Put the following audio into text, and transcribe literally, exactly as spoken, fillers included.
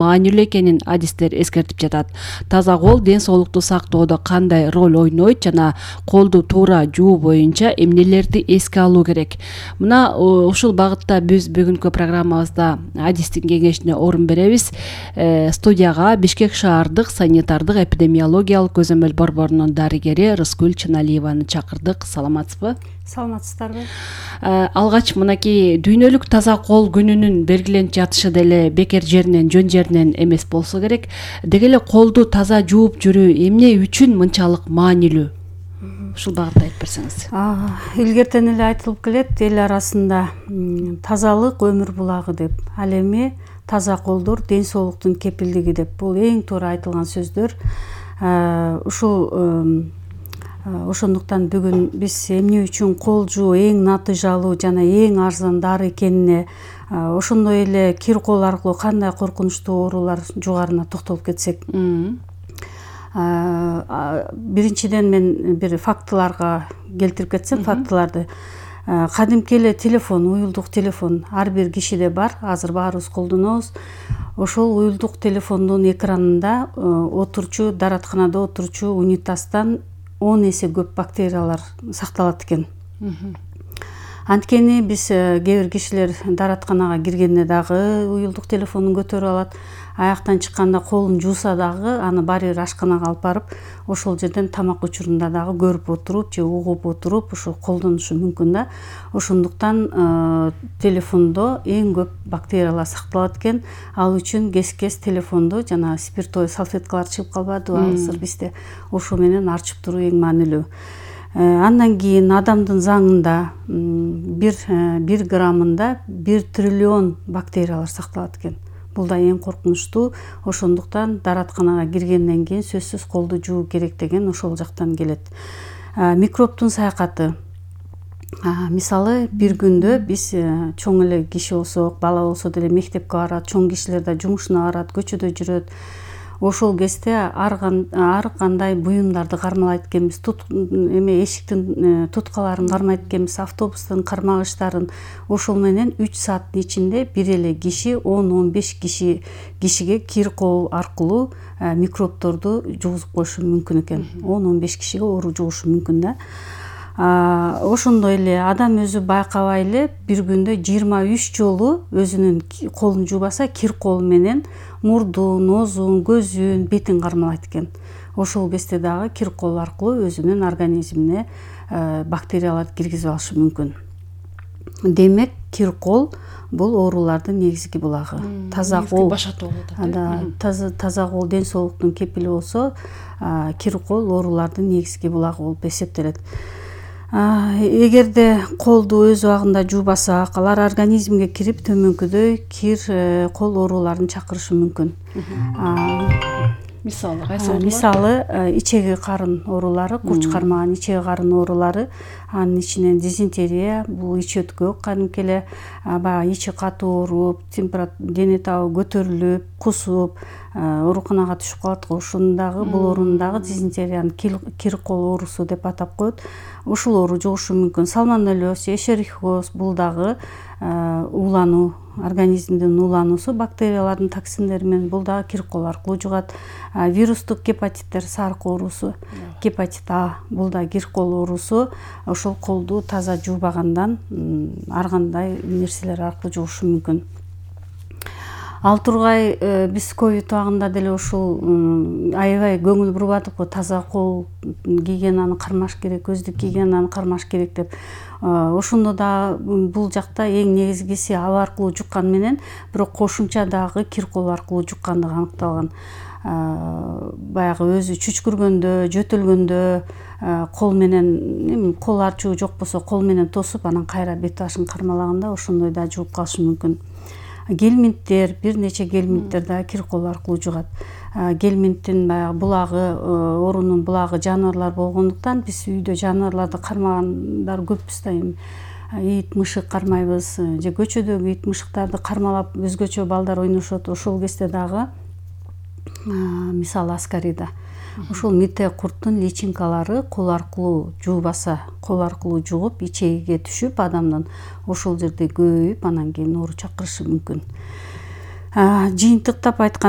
маанилүү экенин адистер эскертип жатат. Таза кол ден соолукту сактоодо кандай роль ойнойт жана колду туура жуу боюнча эмнелерди эске алуу керек? Мына ушул багытта биз бүгүнкү программабызда адистин кеңешине орун беребиз. Студияга Бишкек шаардык санитардык эпидемиологиялык көзөмөл борборунун дарыгери Рыскүл Чыналиеваны чакырдык. Саламатсызбы? Саламатсыздарбы? Алгач мынакей дүйнөлүк таза кол күнүнүн белгиленип жатышы деле бекер жеринен, жөн жеринен эмес болсо керек. Деги эле колду таза жууп жүрүү эмне үчүн мынчалык маанилүү? Ушул багытта айтып берсеңиз. Илгертен эле айтылып келет эл арасында тазалык өмүр булагы деп. Ал эми таза колдор ден соолуктун кепилдиги деп. Бул эң туура айтылган сөздөр. Ушул ошондуктан бүгүн биз эмне үчүн кол жуу эң натыйжалуу жана эң арзан дары экенине, ошондой эле кир кол аркылуу кандай коркунучтуу оорулар жугарына токтолуп кетсек. Биринчиден мен бир фактыларга келтирип кетсем, фактыларды. Кадимки эле телефон, уюлдук телефон ар бир кишиде бар, азыр баарыбыз колдонобуз. Ошол уюлдук телефондун экранында отурчу, даратканада отурчу унитаздан он эсе көп бактериялар сакталат экен. Анткени биз кээ бир кишилер даратканага киргенде дагы уюлдук телефонун көтөрүп алат, аяктан чыкканда колун жууса дагы аны баары бир ашканага алып барып, ошол жерден тамак учурунда дагы көрүп отуруп же угуп отуруп ошо колдонушу мүмкүн да. Ошондуктан телефондо эң көп бактериялар сакталат экен. Ал үчүн кез-кез телефонду жана спиртовый салфеткалар чыгып калбадыбы азыр бизде, ошо менен арчып туруу эң маанилүү. Андан кийин адамдын заңында бир бир граммында бир триллион бактериялар сакталат экен. Бул да эң коркунучтуу. Ошондуктан даратканага киргенден кийин сөзсүз колду жуу керек деген ошол жактан келет. Микробтун саякаты. Мисалы, бир күндө биз чоң эле киши болсок, бала болсо деле мектепке барат, чоң кишилер да жумушуна барат, көчөдө жүрөт. Ошол кезде ар кандай буюмдарды кармалайт экенбиз, эме эшиктин туткаларын кармайт экенбиз, автобустун кармагычтарын. Ошол менен үч сааттын ичинде бир эле киши он он беш киши кишиге кир кол аркылуу микробторду жугузуп коюшу мүмкүн экен. он он беш кишиге оору жугушу мүмкүн да. Ошондой эле адам өзү байкабай эле бир күндө жыйырма үч жолу өзүнүн колун жуубаса кир кол менен мурдун, оозун, көзүн, бетин кармалайт экен. Ошол кезде дагы кир кол аркылуу өзүнүн организмине бактерияларды киргизип алышы мүмкүн. Демек, кир кол бул оорулардын негизги булагы. Таза кол таза кол ден соолуктун кепили болсо, кир кол оорулардын негизги булагы болуп эсептелет. Эгерде колду өз убагында жуубасак, алар организмге кирип төмөнкүдөй кир кол ооруларын чакырышы мүмкүн. Мисалы, кайсы оорулар? Мисалы, ичеги карын оорулары, курч кармаган ичеги карын оорулары, анын ичинен дизентерия, бул ич өткөк, кадимки эле баягы ичи катуу ооруп, дене табы көтөрүлүп, кусуп, ооруканага түшүп калат го. Ошондагы бул ооруну дизентериянын кир кол оорусу деп атап коет. Ушул оору жугушу мүмкүн. Сальмонеллез, эшерихиоз бул дагы уулануу, организмдин уулануусу бактериялардын токсиндери менен, бул дагы кир кол аркылуу жугат. Вирустук гепатиттер, сарык оорусу, гепатит А, бул да кир кол оорусу. Ошол колду таза жуубагандан ар кандай нерселер аркылуу жугушу мүмкүн. Ал тургай биз ковид убагында деле ушул аябай көңүл бурбадыкпы, таза кол гигиенаны кармаш керек, көздүк гигиенаны кармаш керек деп. Ошондо да бул жакта эң негизгиси аба аркылуу жуккан менен, бирок кошумча дагы кир кол аркылуу жуккандыгы аныкталган. Баягы өзү чүчкүргөндө, жөтөлгөндө кол менен, кол арчуу жок болсо кол менен тосуп, анан кайра бет башын кармалаганда ошондой да жугуп калышы мүмкүн. Гельминттер, бир нече гельминттер да кир кол аркылуу жугат. Гельминттин баягы булагы, оорунун булагы жаныбарлар болгондуктан биз үйдө жаныбарларды кармагандар көппүз да. Ит, мышык кармайбыз, же көчөдөгү ит, мышыктарды кармалап өзгөчө балдар ойношот. Ошол кезде дагы мисалы аскарида ошол мите курттун личинкалары кол аркылуу жуубаса, кол аркылуу жугуп ичегиге түшүп адамдын ошол жерде көбөйүп, анан кийин оору чакырышы мүмкүн. Жыйынтыктап айтканда